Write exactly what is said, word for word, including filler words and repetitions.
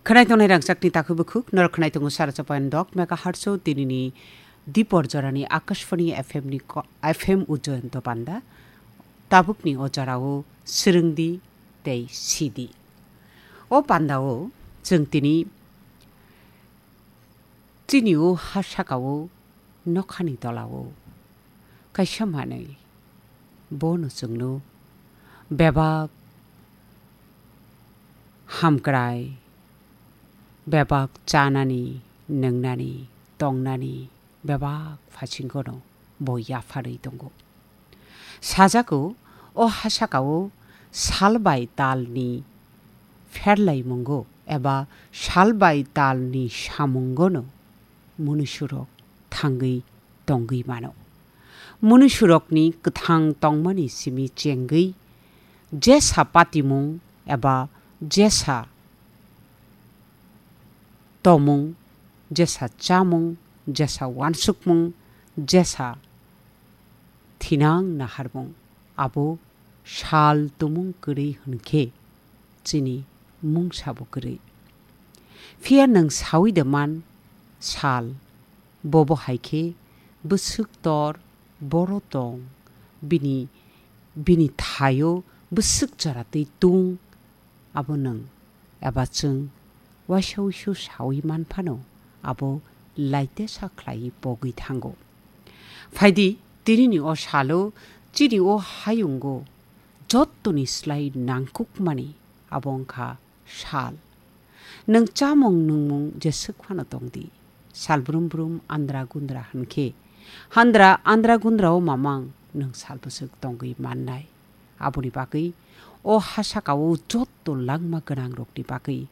Khwnai tongnai rangchakni takhuk bukhuk, norok khwnai tongo sara chapan dok megahertz o tinini Dipor jorani Akashvani F M ni ko-, F M Ujjayanta panda. Tabukni o jorao swrwngdi tei sidi. O pandao chwng tini chini o ha sakao nokhani tolao kaisa manwi bono chwngno bebak hamkrai, bebak chanani, nwngnani, tongnani bebak phasingono bo yapharwi tongo. Sajago, o ha sakao sal bai talni pherlaimungo eba sal bai talni samungono munusurok thangwi tongwi mano. Munusurokni kwthang tongmani simi chengwi jesa patimung eba jesa tomung, jesa chamung, jesa wansukmung, jesa thinang naharmung, abo sal tumung kwrwi hwnkhe chini mungsabo kwrwi. Phiya nwng sawi de man sal, bobo hai khe bwswk tor boro tong, bini, bini thaio bwswk jora twi tung, abo nwng eba chwng waisa uisu sawi man phano abo laitesa khlaiwi pogwi thango. Phaidi, tinini o salo chini o hayungo jottoni slai nangkukmani abo wngkha sal. Nwng chamung nungmung jeswk phano tongdi, sal brum brum andra gundra hwnkhe, handra andra gundrao mamang nwng sal bwswk tongwi mannai. Aboni bagwi o ha sakao jotto langma gwnangrokni bagwi